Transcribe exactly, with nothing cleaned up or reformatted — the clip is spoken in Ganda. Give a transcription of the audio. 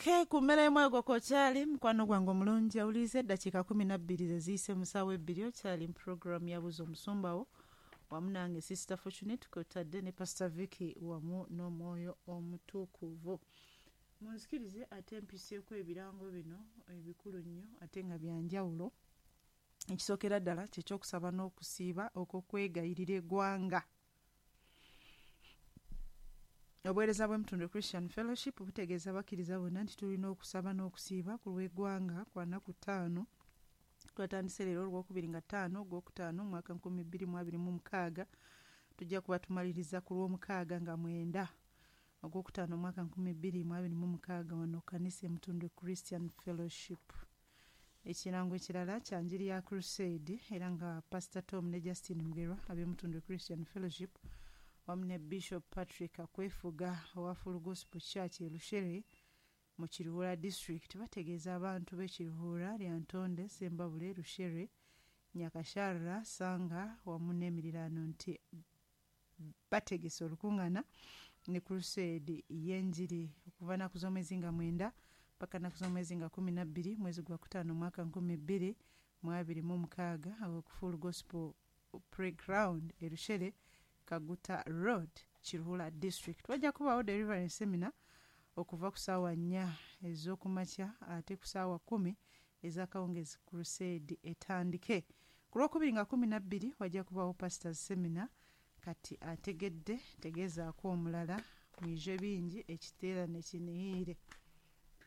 Okay, ku mmere y'omwoyo okyali mukwano gwange omulungi awuliriza eddakiika kumi na bbiri ze ziyise mu ssaawa ebbiri okyali mu puroguramu yabuza omusumbawo wamu nange Sister Fortunate kwotadde ne Pastor Vicky wamu n'omwoyo omutukuvu. Munzikirize ate mpiseeko ebirango bino ebikulu nnyo ate nga bya njawulo. Ekisookera ddala kyekyokusaba n'okusiiba okw'okwegayirira eggwanga. Obuweereza bw'Emutundu Christian Fellowship butegeeza abakkiriza bonna nti tulina okusaba n'okusiiba ku lw'eggwanga kwa nnaku ttaano. Twatandise leero olwokubiri nga ttaano ogwokutaano mwaka nkumi bbiri mu abiri mu mukaaga. Tujja kuba tumaliriza ku lw'omukaaga nga mwenda ogwokutaano mwaka nkumi bbiri mu abiri mu mukaaga wano kanisa Emutundu Christian Fellowship. Ekirango ekirala kya njiri ya Crusade era nga Pastor Tom ne Justin Mugerwa ab'Emutundu Christian Fellowship wamu ne Bishop Patrick Akwefuga owa Full Gospel Church e Rushere mu Kiruhura District bategeeza abantu b'e Kiruhura, Lyantonde, Sembabule, Rushere, Nyakasharra, Sanga wamu n'emiriraano nti bategese olukuŋŋaana ne Crusade y'enjiri okuva nnaku z'omwezi nga mwenda paka nnaku z'omwezi nga kumi na bbiri mwezi gwa kutaano mwaka nkumi bbiri mu abiri mu mukaaga awo ku Full Gospel Playground e Rushere, Kaguta Road, Kiruhura District. Wajja kubaawo deliverance seminar okuva ku ssaawa nnya ez'okumakya ate ku ssaawa kkumi ez'akawungeezi Crusade etandike. Ku lwokubiri nga kumi na bbiri wajja kubaawo pastors seminar. Kati ategedde tegeezaako omulala mwije bingi ekiteerane kiniire.